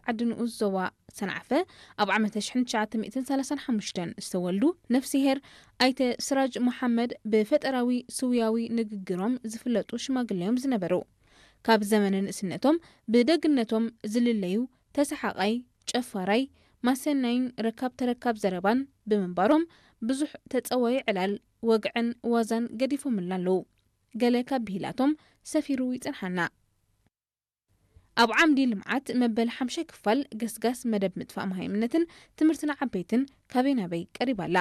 ዓዲ ንኡስ ዞባ ሰንዓፈ ኣብ ዓመተ ሽሕን ትሽዓተ ሚእትን ሰላሳን ሓሙሽተን ዝተወልዱ ነፍስሄር ኣይተ ስራጅ መሓመድ ብፈጠራዊ ስውያዊ ንግግሮም ዝፍለጡ ሽማግሌ እዮም ዝነበሩ። ካብ ዘመነ ንእስነቶም ብደግነቶም ዝልለዩ ተሰሓቓይ፣ ጨፋራይ፣ ማሰናይን ረካብ ተረካብ ዘረባን ብምንባሮም ብዙሕ ተጸዋይ ዕላል፣ ወግዕን ዋዛን ገዲፎምልና ኣለዉ። ገለ ካብ ብሂላቶም ሰፊሩ ይጽንሓና። ኣብ ዓምዲ ልምዓት መበል ሓምሻይ ክፋል ገስጋስ መደብ ምጥፋእ መሃይምነትን ትምህርቲ ንዓበይትን ካበይ ናበይ ቀሪባ ኣላ።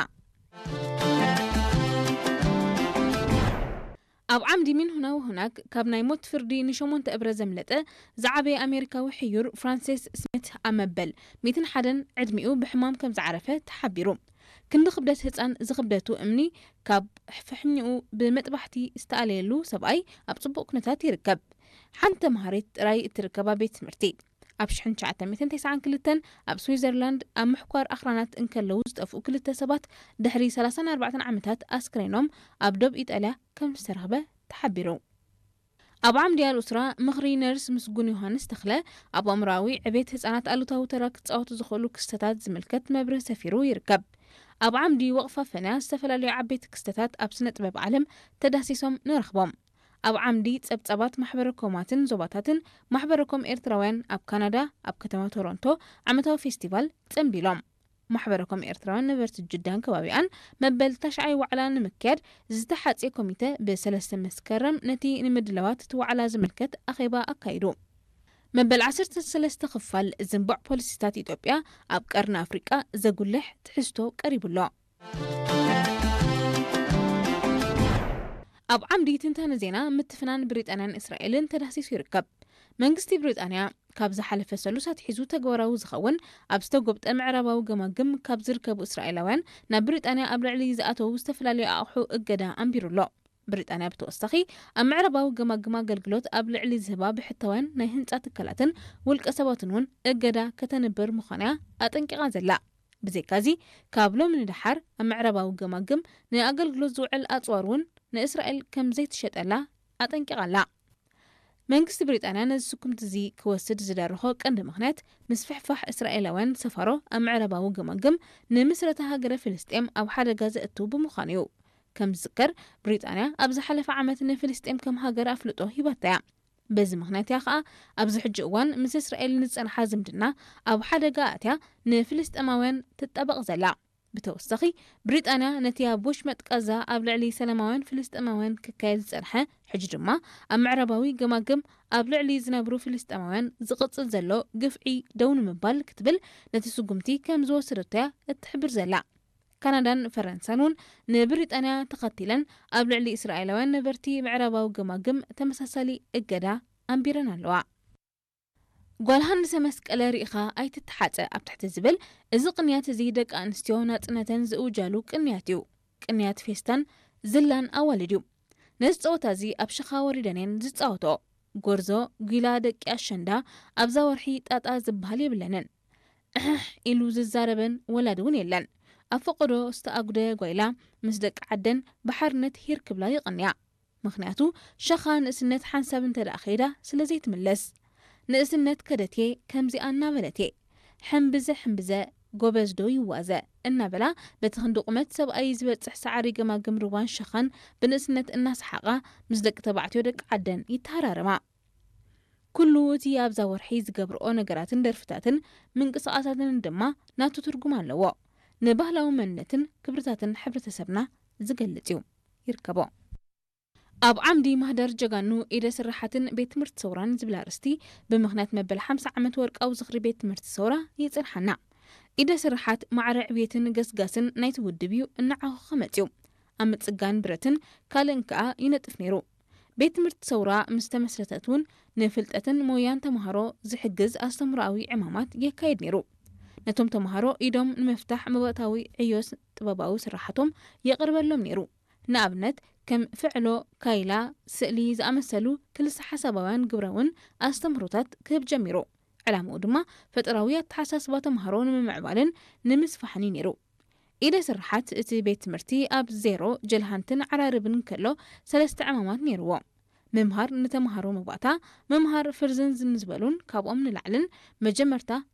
ኣብ ዓምዲ ምን ሁና ወሁናክ ካብ ናይ ሞት ፍርዲ ንሸሞንተ እብረ ዘምለጠ ዝዓበየ ኣሜሪካዊ ሕዩር ፍራንሲስ ስሚት ኣብ መበል ሚእትን ሓደን ዕድሚኡ ብሕማም ከም ዝዓረፈ ተሓቢሩ። ክንዲ ክብደት ህጻን ዝኽብደቱ እምኒ ካብ ፍሕኝኡ ብመጥባሕቲ ዝተኣለየሉ ሰብኣይ ኣብ ጽቡቕ ኩነታት ይርከብ። ሓንቲ ተምሃሪት ጥራይ እትርከባ ቤት ትምህርቲ። ኣብ ሽሕን ትሽዓተ ሚእትን ተስዓን ክልተን ኣብ ስዊዘርላንድ ኣብ ምሕኳር ኣኽራናት እንከለዉ ዝጠፍኡ ክልተ ሰባት ድሕሪ ሰላሳን ኣርባዕተን ዓመታት ኣስክሬኖም ኣብ ዶብ ኢጣልያ ከም ዝተረኽበ ተሓቢሩ። ኣብ ዓምዲ ኣልኡስራ ምኽሪ ነርስ ምስጉን ዮሃንስ ተኽለ ኣብ ኣእምሮኣዊ ዕቤት ህጻናት ኣሉታዊ ተራ ክጻወቱ ዝኽእሉ ክስተታት ዝምልከት መብርህ ሰፊሩ ይርከብ። ኣብ ዓምዲ ወቕፋ ፈንያ ዝተፈላለዩ ዓበይቲ ክስተታት ኣብ ስነ ጥበብ ዓለም ተዳሲሶም ንረኽቦም። ኣብ ዓምዲ ጸብጻባት ማሕበረ ኮማትን ዞባታትን ማሕበረ ኮም ኤርትራውያን ኣብ ካናዳ፣ ኣብ ከተማ ቶሮንቶ ዓመታዊ ፌስቲቫል ጸንቢሎም። ማሕበረ ኮም ኤርትራውያን ነበርቲ ጅዳን ከባቢኣን መበል ታሽዓይ ዋዕላ ንምክያድ ዝተሓጽየ ኮሚተ ብሰለስተ መስከረም ነቲ ንምድላዋት እቲ ዋዕላ ዝምልከት ኣኼባ ኣካይዱ። መበል ዓሰርተ ሰለስተ ክፋል ዝንቡዕ ፖሊሲታት ኢትዮጵያ ኣብ ቀርኒ ኣፍሪቃ ዘጉልሕ ትሕዝቶ ቀሪቡ ኣሎ። ኣብ ዓምዲ ትንታነ ዜና ምትፍናን ብሪጣንያን እስራኤልን ተዳህሲሱ ይርከብ። መንግስቲ ብሪጣንያ ካብ ዝሓለፈ ሰሉስ ኣትሒዙ ተግባራዊ ዝኸውን ኣብ ዝተጎብጠ ምዕራባዊ ገማግም ካብ ዝርከቡ እስራኤላውያን ናብ ብሪጣንያ ኣብ ልዕሊ ዝኣተዉ ዝተፈላለዩ ኣቑሑ እገዳ ኣንቢሩ ኣሎ። ብሪጣንያ ብተወሳኺ ኣብ ምዕራባዊ ገማግም ኣገልግሎት ኣብ ልዕሊ ዝህባ ብሕታውያን ናይ ህንጻ ትካላትን ውልቀ ሰባትን እውን እገዳ ከተንብር ምዃና እያ ኣጠንቂቓ ዘላ። ብዘይካዚ ካብ ሎሚ ንደሓር ኣብ ምዕራባዊ ገማግም ንኣገልግሎት ዝውዕል ኣጽዋር እውን ንእስራኤል ከም ዘይትሸጠላ ኣጠንቂቓ ኣላ። መንግስቲ ብሪጣንያ ነዚ ስጉምቲ እዚ ክወስድ ዝደረኾ ቀንዲ ምኽንያት ምስፍሕፋሕ እስራኤላውያን ሰፋሮ ኣብ ምዕራባዊ ገማግም ንምስረታ ሃገረ ፍልስጤም ኣብ ሓደጋ ዘእትው ብምዃኑ እዩ። ከም ዝዝከር ብሪጣንያ ኣብ ዝሓለፈ ዓመት ንፍልስጤም ከም ሃገር ኣፍልጦ ሂባታ እያ። በዚ ምኽንያት እያ ከኣ ኣብዚ ሕጂ እዋን ምስ እስራኤል ንዝጸንሓ ዝምድና ኣብ ሓደጋ ኣእትያ ንፍልስጤማውያን ትጣበቕ ዘላ። ብተወሳኺ ብሪጣንያ ነቲ ኣብ ወሽመጥ ቃዛ ኣብ ልዕሊ ሰላማውያን ፍልስጤማውያን ክካየድ ዝጸንሐ ሕጂ ድማ ኣብ ምዕራባዊ ገማግም ኣብ ልዕሊ ዝነብሩ ፍልስጤማውያን ዝቕጽል ዘሎ ግፍዒ ደው ንምባል ክትብል ነቲ ስጉምቲ ከም ዝወሰደቶ እያ እትሕብር ዘላ። ካናዳን ፈረንሳን እውን ንብሪጣንያ ተኸቲለን ኣብ ልዕሊ እስራኤላውያን ነበርቲ ምዕራባዊ ገማግም ተመሳሳሊ እገዳ ኣንቢረን ኣለዋ። ጓል ሃንሰ መስቀለ ርኢኻ ኣይትተሓጸ ኣብ ትሕቲ ዝብል እዚ ቅንያት እዚ ደቂ ኣንስትዮ ናጽነተን ዝእውጃሉ ቅንያት እዩ። ቅንያት ፌስታን ዝላን ኣዋልድ እዩ። ነዚ ጸወታ እዚ ኣብ ሸኻ ወሪደን እየን ዝጻወትኦ። ጎርዞ ጒላ ደቂ ኣሸንዳ ኣብዛ ወርሒ ጣጣ ዝበሃል የብለንን። እሕሕ ኢሉ ዝዛረበን ወላዲ እውን የለን። ኣብ ፈቐዶ ዝተኣጉደ ጓይላ ምስ ደቂ ዓደን ብሓርነት ሂር ክብላ ይቕንያ። ምኽንያቱ ሸኻ ንእስነት ሓንሳብ እንተ ደኣ ከይዳ ስለ ዘይትምለስ። ንእስነት ከደትየ ከምዚኣ እናበለትየ። ሕምብዘ ሕምብዘ ጎበዝ ዶ ይዋዘ እናበላ በቲ ክንዲ ቁመት ሰብኣይ ዝበጽሕ ሰዓሪ ገማግም ሩባን ሸኻን ብንእስነት እናሰሓቓ ምስ ደቂ ተባዕትዮ ደቂ ዓደን ይተሃራረማ። ኩሉ እቲ ኣብዛ ወርሒ ዝገብርኦ ነገራትን ደርፍታትን ምንቅስቓሳትን ድማ ናቱ ትርጉም ኣለዎ። ንባህላዊ መንነትን ክብርታትን ሕብረተሰብና ዝገልጽ እዩ። ይርከቦ። ኣብ ዓምዲ ማህደር ጀጋኑ ኢደ ስራሓትን ቤት ትምህርቲ ሰውራን ዝብል ኣርእስቲ ብምኽንያት መበል ሓምሳ ዓመት ወርቃዊ ዝኽሪ ቤት ትምህርቲ ሰውራ ይጽንሓና። ኢደ ስራሓት ማዕረ ዕብየትን ገስጋስን ናይቲ ውድብ እዩ እናዓኾኸ መጽዩ። ኣብ ምጽጋን ብረትን ካልእን ከኣ ይነጥፍ ነይሩ። ቤት ትምህርቲ ሰውራ ምስ ተመስረተት እውን ንፍልጠትን ሞያን ተምሃሮ ዝሕግዝ ኣስተምህሮኣዊ ዕማማት የካይድ ነይሩ። ነቶም ተምሃሮ ኢዶም ንምፍታሕ መባእታዊ ዕዮ ጥበባዊ ስራሓቶም የቕርበሎም ነይሩ። ንኣብነት ከም ፍዕሎ፣ ካይላ፣ ስእሊ ዝኣመሰሉ ክልሰ ሓሳባውያን ግብራውን ኣስተምህሮታት ክህብ ጀሚሩ። ዕላምኡ ድማ ፈጠራዊ ኣተሓሳስባ ተምሃሮ ንምምዕባልን ንምስፋሕን እዩ ነይሩ። ኢደ ስርሓት እቲ ቤት ትምህርቲ ኣብ ዜሮ፣ ጀልሃንትን ዓራርብን እንከሎ ሰለስተ ዕማማት ነይርዎ። ምምሃር ንተምሃሮ መባእታ፣ ምምሃር ፍርዝን ዝን ዝበሉን ካብኦም ንላዕልን መጀመርታ